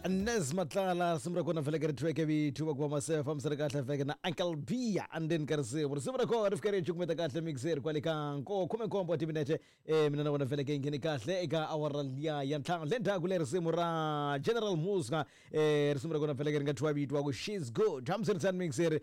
Nes Matlala risimu ra kona vhele ri thweke vithu va ku va masefa fambisana kahle vheke na Uncle B andzeni ka risimu. Risimu ra kona ri fika ri cukumeta kahle mixer kwale ka nko 17 wa timinete. Mina na wena vhele ke ngheni kahle eka awara liya ya ntlhanu. Le ndzhaku le risimu ra General Muska, risimu ra kona vhele ri nga thyiwa vito wa ku She's Good. Hambiswiritano mixer,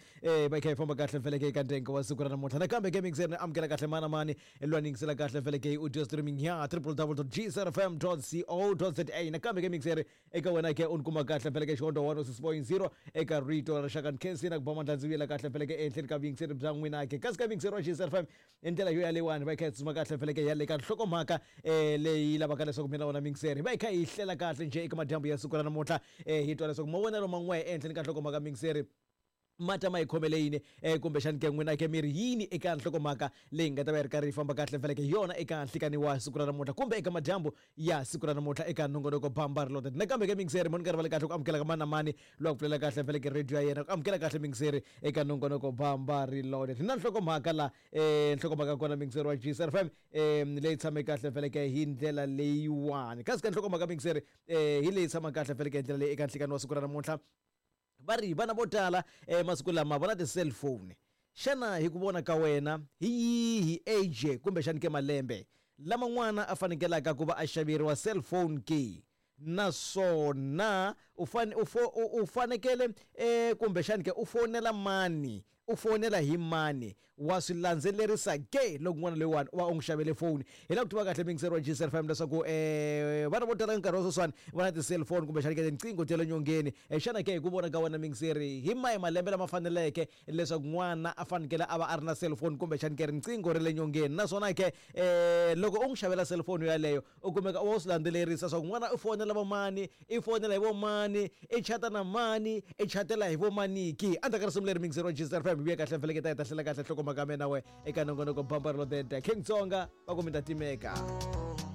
va kha yi famba kahle vhele ke ka ntengo wa siku ra namuntlha. Nakambe ke mixer ni amukela kahle mana mani lwa ni yingisela kahle vhele ke audio streaming ya www.gcrfm.co.za. Nakambe ke mixer eka wena ke u ni kuma kahle vhele ke xihondzo 106.0 eka rito ra rixaka. Ni khensini na ku ba mandla ndzi vuyela kahle vhele ke ehenhleni ka vuyingiseri bya n'wina ke kasi ka vuyingiseri wa GCRFM hi ndlela yo yaleyiwani va yi kha yi tsutsuma kahle vhele ke ya le ka nhlokomhaka leyi lavaka leswaku mina wona mixer va yi kha yi hlela kahle njhe eka madyambu ya siku ra namuntlha, hi twa leswaku mavonelo man'we ehenhleni ka nhlokomhaka mixer ma ta ma yi khomele yini, kumbexani ke n'wina ke mi ri yini eka nhlokomhaka leyi nga ta va yi ri karhi yi famba kahle mfeleke hi yona eka nhlikani wa siku ra namuntlha kumbe eka madyambu ya siku ra namuntlha eka nongonoko Bamba Reloaded. Nakambe ke mingiseri mo ni nga rivali kahle ku amukela ka mani na mani loyi a ku pfulela kahle mfeleke radio ya yena ku amukela kahle mingiseri eka nongonoko Bamba Reloaded. Hi na nhlokomhaka la, nhlokomhaka kona mingiseri wa GCRFM, leyi tshame kahle mfeleke hi ndlela leyiwani. Kasi ka nhlokomhaka mingiseri, hi leyi tshama kahle mfeleke hi ndlela leyi eka nhlikani wa siku ra namuntlha. Va ri vana vo tala masiku lama va na ti-cellphone. Xana hi ku vona ka wena hi yihi age kumbexani ke malembe lama n'wana a fanekelaka ku va a xaveriwa cellphone ke? Naswona u u u fanekele kumbexani ke u fonela mani U fonela hi mani? Wa swi landzelerisa ke loko n'wana loyiwani u va u n'wi xavele foni? Hi lava ku tiva kahle muyingiseri wa GCFM leswaku vana vo tala nkarhi wa sweswiwani va na ti-cellphone kumbexana ke tinqingho ta le nyongeni. Xana ke hi ku vona ka wena muyingiseri, hi mahi malembe lama faneleke leswaku n'wana a fanekele a va a ri na cellphone kumbexana ke riqingho ra le nyongeni? Naswona ke loko u n'wi xavela cellphone yoyaleyo, U kumeka u va u swi landzelerisa swa ku n'wana u fonela vo mani, i fonela hi vo mani, i chata na mani, i chatela hi vo mani ki. Endzhaku ka risimu leri mixer wa Jesus FM hi vuya kahle mfeleketa hi ta hlela kahle nhlokomhaka ya mina we eka nongonoko Bamba Reloaded. King Tsonga va ku mi ta timeka.